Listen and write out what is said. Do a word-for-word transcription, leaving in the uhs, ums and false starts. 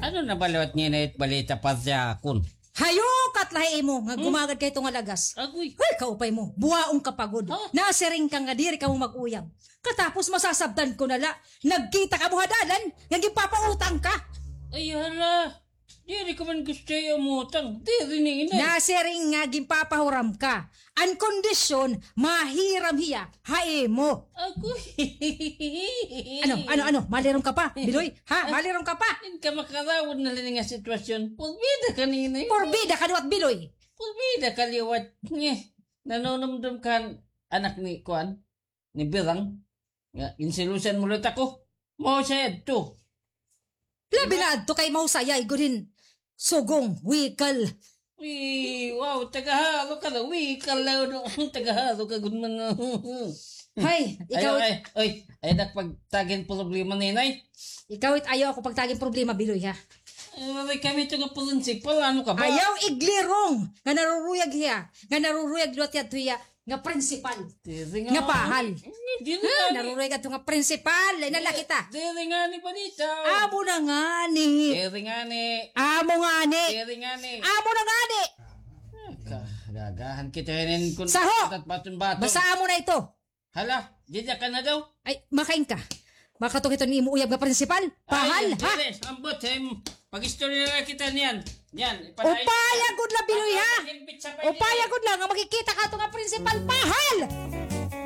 Ano na ba liwat nga inay it balita pa siya kun? Hayukat la ha imo nga gumagad kay ito nga lagas. Agoy. Hoy, kaupay mo. Buwaon ka pa gud. Ha? Nasiring ka nga diri kamo mag-uyab. Katapos masasabtan ko na la. Nagkita kamo ha dalan nga ginpapautang ka. Ay, hala. Diri ko man gusto iya umutang. Diri ni inay. Nasiring nga ginpapahuram ka. An kondisyon, mahiram hiya ha imo. Agoy. Ano, ano, ano? Malirom ka pa, Biloy? Ha? Malirom ka pa? Di ka makarawod na la ini nga sitwasyon. Porbida ka ni inay. Porbida ka liwat, Biloy. Porbida ka liwat. Nye. Nanunumdom ka han anak ni kuan, ni Birang. Nga, ginselosan mo liwat ako. Mao siya adto. Labi na adto kay mao siya, igod hin sugong, wikal. Uy, wow, tagahalo ka na, wikal na, ano, tagahalo ka gud man. Hay, ikaw. Ay, ay, ay, ay, nagpagtagin problema ni inay. Ikaw it ayaw ako pagtagin problema, Biloy, ha? Ay, wala kami ito nga prinsipal, ano ka ba? Ayaw iglirong nga naruruyag hiya, nga naruruyag liwat yadto hiya, nga prinsipal. Diri nga. Nga pahal. Diri nga. Naruruyag adto nga prinsipal. Ay, nalaki ta. Diri nga ni balita. Amo na nga ni. Diri nga ni. Amo nga ni. Diri nga ni. Amo na nga ni. Gagahan kita hinin kun. Saho! Baton-baton. Basta amo na ito. Hala, dida ka na daw. Ay, makain ka. Makatukit ni imo uyab nga prinsipal. Pahal, ha? Diri, ambot, em, pag-istorya na kita niyan. Niyan, ipanayon. Upaya gud la, Biloy, ha? Upaya gud la nga makikita ka ato nga prinsipal, pahal!